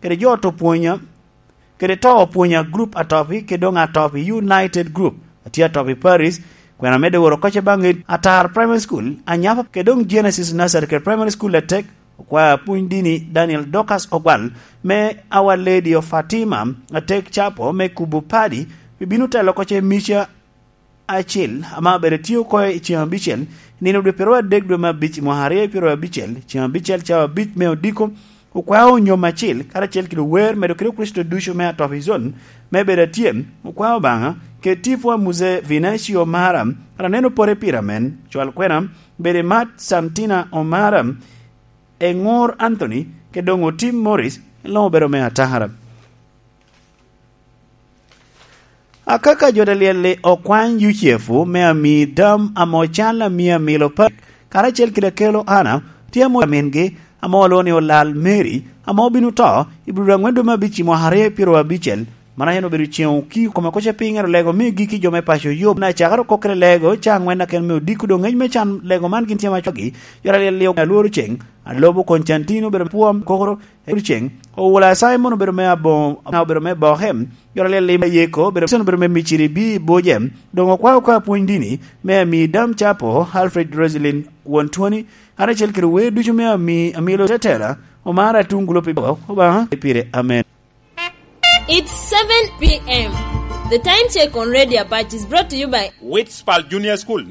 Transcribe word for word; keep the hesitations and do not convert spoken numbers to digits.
kede jo to pwonya, kede to opwonya group Atopi, kede doŋ Atopi United Group, atye Atopi Paris, kwena medde woro koce baŋ Atar Primary School, Anyapa, kede doŋ Genesis Nursery kede Primary School atek, okwaya pwony dini Daniel Dorcas Ogwal, me Our Lady of Fatima, atek capo me kubo padi, bibino telo koce mica acil, ame abedo tye oko i ceng abicel, nino dwe pyeraryo adek dwe me abic i mwaka aryo pyeraryo abicel, ceng abicel cawa abic me odiko, okwao onyom acil, karacel kede ower medo kede Kricito ducu me Atopi Zone, me bedo atye, okwao Obaŋa, kede tipo a Muse Vinacio Mara, aneno pore pira men, cwal kwena, bedo i mat Santina Omara, Eŋor Anthony, kede doŋ Otim Morris, en luŋ obedo me atara. Akaka jo ta lyel-li okwany Yucepu me ami dam ame ocan amio amilo pa, karacel kede akelo Ana, tye amo amingi, ame olwoŋo ni olal Mary, ame obino to i dwe aŋwen dwe me abic i mwaka aryo pyeraryo abicel. Man en obedo ceŋ okii kome koca piny, ero lego me giki jo me paco yub. Na cakere okok kede lego, ca aŋwen aken me odiko doŋ ngec me can lego man gin tye ma cogi. Jo ta lyel-li alworo ceŋ, Alobo Koncantin obedo pwom kokoro, Ewulo ceŋ, Owula Simon obedo me abo-, obedo me Bohem, joro lel lim Yeko obedo, obedo me Miciri bi Bojem, doŋ okwao ka pwony dini, me ami dam capo, Alfred Roselyn Won Twoni, karacel kede wer ducu me ami, amilo tetela, omara tuŋ gulo pi bo, Obaŋa, pire, amen. It's seven p m. The time check on Radio Apache is brought to you by Witspal Junior School.